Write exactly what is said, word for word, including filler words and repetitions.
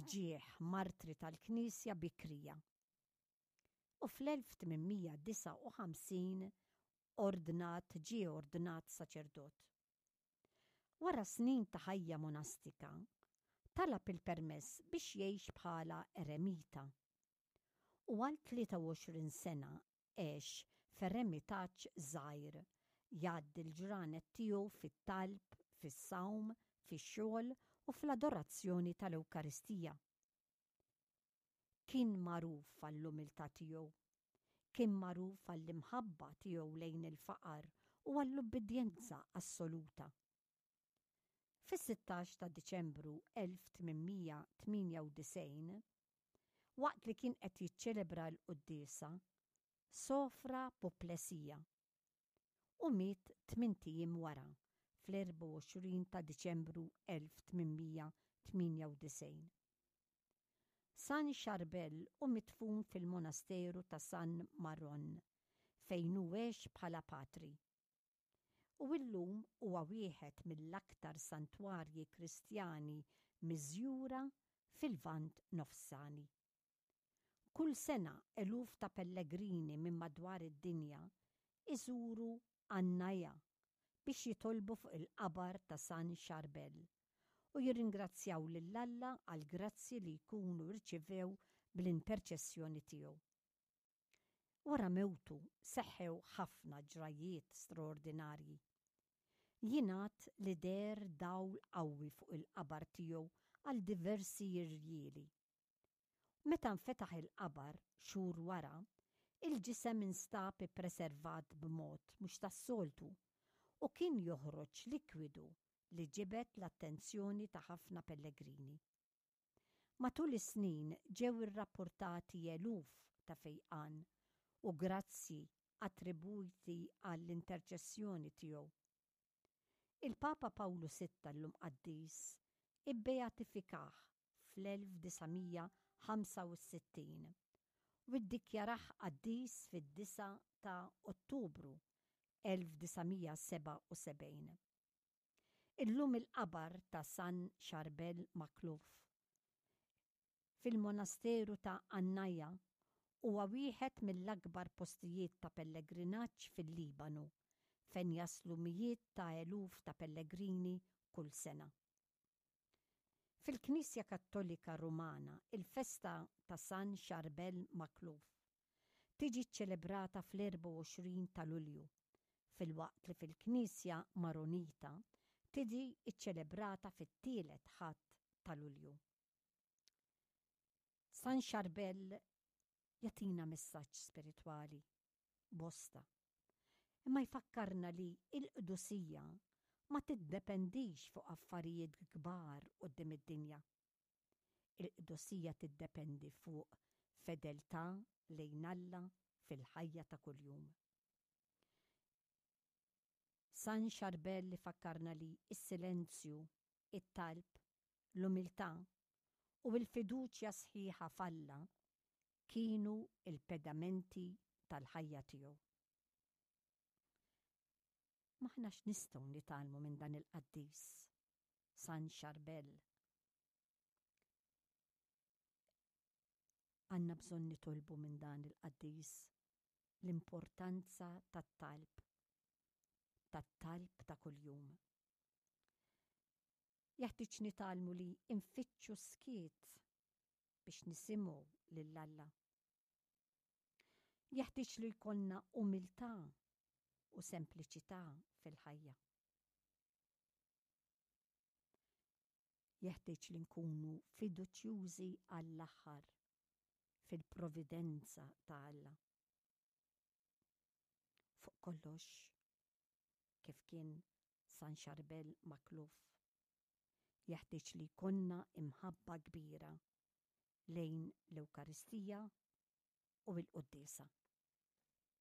f'ġieħ martri tal-Knisja bikrija. U fl-elf tmien mija disgħa u ħamsin ordnat ġie ordnat saċerdot. Wara snin ta' ħajja monastika, talab il-permess biex jgħix bħala eremita. U għal tlieta u għoxrin sena għex f'eremitaġġ żgħir, jgħaddi l-ġranet tiegħu fit-talb, fis-sawm, fix-xogħol u fl-adorazzjoni tal-Ewkaristija. Kien magħruf għall-umiltà tiegħu, kien magħruf għall-imħabba tiegħu lejn il-faqar u għall-ubbidjenza assoluta. Fis-sittax ta' Diċembru elf tmien mija tmienja u disgħin, waqt li kien qed jiċċelebra l-quddiesa, sofra puplesija u miet tmint ijiem wara fl-erbgħa u għoxrin ta' Diċembru elf tmien mija tmienja u disgħin. San Charbel hu midfun fil-monasteru ta' San Maron, fejn hu għex bħala patri. U illum huwa wieħed mill-aktar santwarji Kristjani miżjura fil-Lvant Nofsani. Kull sena eluf ta' pellegrini minn madwar id-dinja iżuru Annaya biex jitolbu fuq il-qabar ta' San Charbel u jirringrazzjaw lil Alla għal grazzi li jkunu rċivew bl-interċessjoni tiegħu. Wara mewtu seħħew ħafna ġrajiet straordinarji. Jingħad li deher dawl qawwi fuq il-qabar tiegħu għal diversi irjieli. Meta nfetaħ il-qabar xhur wara, il-ġisem instab ippreservat b'mod mhux tas-soltu u kien joħroġ likwidu li ġibed l-attenzjoni ta' ħafna pellegrini. Matul is-snin ġew irrapportati eluf ta' fejqan u grazzi attribuiti għall-interċessjoni tiegħu. Il-Papa Pawlu sitta llum qaddis ibbeatifikah fl-elf disa' mija ħamsa u sittin u ddikjarah qaddis fid-disa ta' Ottubru elf disa' mija seba' u sebgħin. Illum il-qabar ta' San Charbel Makhlouf fil-monasteru ta' Annaya huwa wieħed mill-akbar postijiet ta' pellegrinaġġ fil-Libanu, fejn jaslu mijiet ta' eluf ta' pellegrini kull sena. Fil-Knisja Kattolika Rumana, il-festa ta' San Charbel Makhlouf tiġi ċċelebrata fl-erbgħa u għoxrin ta' Lulju, filwaqt li fil-Knisja Maronita tiġi ċċelebrata fit-tielet Ħadd ta' Lulju. San Charbel jagħtina messaġġ spiritwali bosta, imma jfakkarna li l-qdusija ma tiddependix fuq affarijiet kbar quddiem id-dinja. Il-qdusija tiddependi fuq fedeltà lejn Alla fil-ħajja ta' kuljum. San Charbel li fakkarna li s-silenzju, it-talb, l-umiltà u l-fiduċja sħiħa f'Alla kienu il-pedamenti tal-ħajja tiegħu. M'aħna x'nistgħu nitgħallmu minn dan il-qaddis, San Charbel? Għandna bżonn nitolbu minn dan il-qaddis l-importanza tat-talb, tat-talb ta' kuljum. Jeħtieġ nitgħallmu li nfittxu skiet biex nisimgħu lil Alla. Jeħtieġ li jkollna umiltà u sempliċità fil-ħajja. Jeħtieġ li nkunu fiduċjużi għall-aħħar fil-providenza ta' Alla. Fuq kollox, kif kien San Charbel Makhlouf, jeħtieġ li jkollna imħabba kbira lejn l-Ewkaristija u l-Quddiesa.